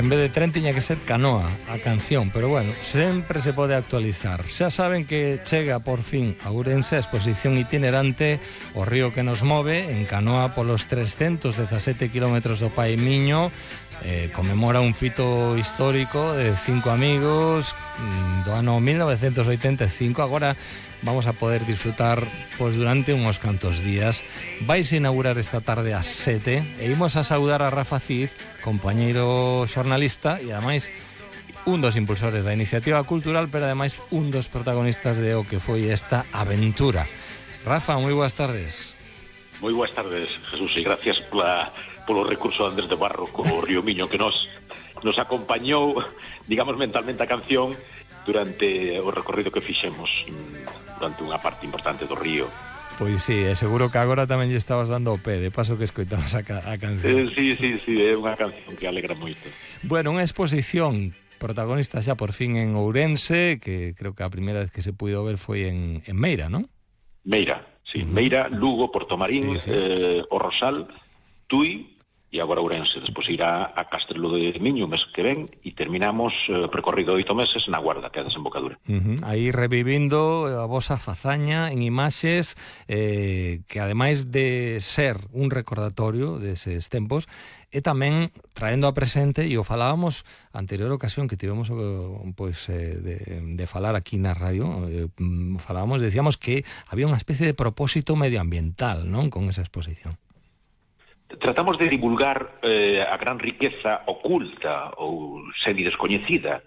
En vez de tren tiña que ser canoa, a canción, pero bueno, sempre se pode actualizar. Xa saben que chega por fin a Ourense a exposición itinerante O río que nos move, en canoa polos 317 kilómetros do Paimiño. Conmemora un fito histórico de 5 amigos do ano 1985. Agora vamos a poder disfrutar pois durante uns cantos días. Vais a inaugurar esta tarde ás 7 e imos a saudar a Rafa Cid, compañeiro xornalista e ademais un dos impulsores da iniciativa cultural, pero ademais un dos protagonistas de o que foi esta aventura. Rafa, moi boas tardes. Moi boas tardes, Jesús, e gracias polo recurso de Andrés de Barro co Río Miño que nos acompañou, digamos, mentalmente a canción durante o recorrido que fixemos durante unha parte importante do río. Pois sí, seguro que agora tamén lle estabas dando o pé, de paso que escoitamos a canción. Sí, é unha canción que alegra moito. Bueno, unha exposición protagonista xa por fin en Ourense, que creo que a primeira vez que se puido ver foi en Meira, non? Meira, sí, Meira, Lugo, Portomarín, sí. O Rosal, Tui e agora Ourense. Despois irá a Castrelo de Miño o mes que ven e terminamos percorrido 8 meses na Guarda, que é a desembocadura. Aí revivindo a vosa fazaña en imaxes que ademais de ser un recordatorio deses tempos, e tamén traendo a presente, e o falábamos a anterior ocasión que tivemos de falar aquí na radio, decíamos que había unha especie de propósito medioambiental, non, con esa exposición. Tratamos de divulgar a gran riqueza oculta ou semi-descoñecida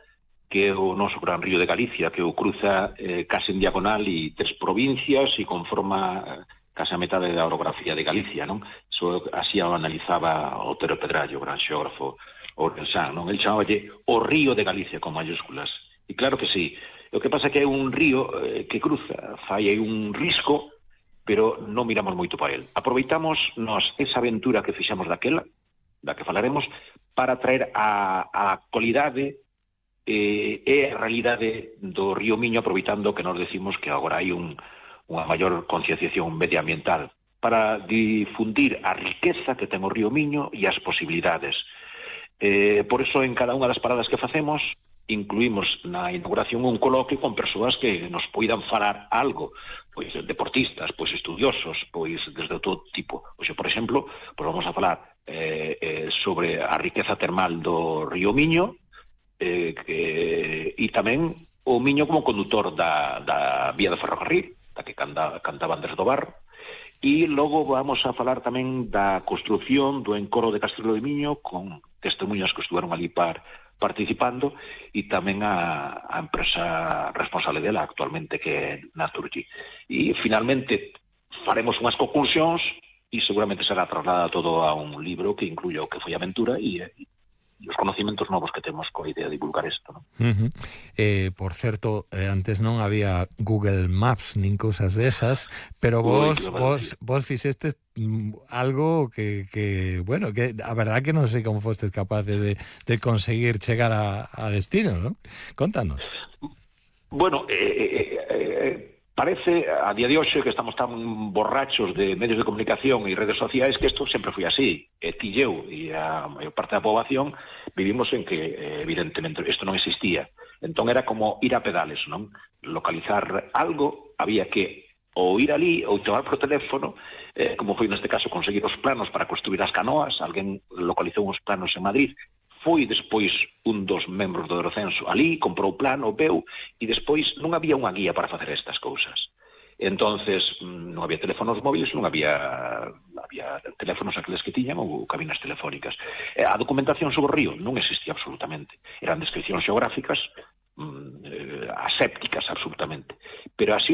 que é o noso gran río de Galicia, que o cruza case en diagonal e 3 provincias e conforma case a metade da orografía de Galicia, non? Eso así o analizaba Otero Pedrallo, o gran xeógrafo ourensán, non? El chamaballe o río de Galicia con mayúsculas. E claro que sí. O que pasa é que é un río que cruza, fai aí un risco, pero non miramos moito para el. Aproveitamos esa aventura que fixamos daquela, da que falaremos, para traer a actualidade e a realidade do río Miño, aproveitando que nos decimos que agora hai unha maior concienciación medioambiental, para difundir a riqueza que ten o río Miño e as posibilidades. Por eso, en cada unha das paradas que facemos, incluímos na inauguración un coloquio con persoas que nos poidan falar algo, pois deportistas, pois estudiosos, pois desde todo tipo. Pois, por exemplo, pois vamos a falar sobre a riqueza termal do río Miño e tamén o Miño como condutor da vía de ferrocarril, da que cantaba Andrés do Barro, e logo vamos a falar tamén da construción do encoro de Castrelo de Miño con testemunhas que estuveron ali participando e tamén a empresa responsable dela actualmente, que é Naturgy. E finalmente faremos unhas conclusións e seguramente será trasladado todo a un libro que incluya o que foi a aventura e os conocimentos novos que temos coa idea de divulgar isto, non? Por certo, antes non había Google Maps nin cousas desas, pero vos fixestes algo que a verdad que non sei como fostes capaces de conseguir chegar a destino, non? Contanos. Bueno, parece a día de hoxe que estamos tan borrachos de medios de comunicación e redes sociais que isto sempre foi así. Ti e eu e a maior parte da poboación vivimos en que evidentemente isto non existía. Entón era como ir a pedales, non? Localizar algo, había que ou ir ali ou chamar por teléfono, como foi neste caso conseguir os planos para construir as canoas. Alguén localizou uns planos en Madrid, foi despois un dos membros do Eurocenso ali, comprou o plano, veu, e despois non había unha guía para facer estas cousas. Entonces non había teléfonos móviles, non había teléfonos aqueles que tiñan ou cabinas telefónicas. A documentación sobre o río non existía absolutamente. Eran descripcións xeográficas asépticas absolutamente. Pero así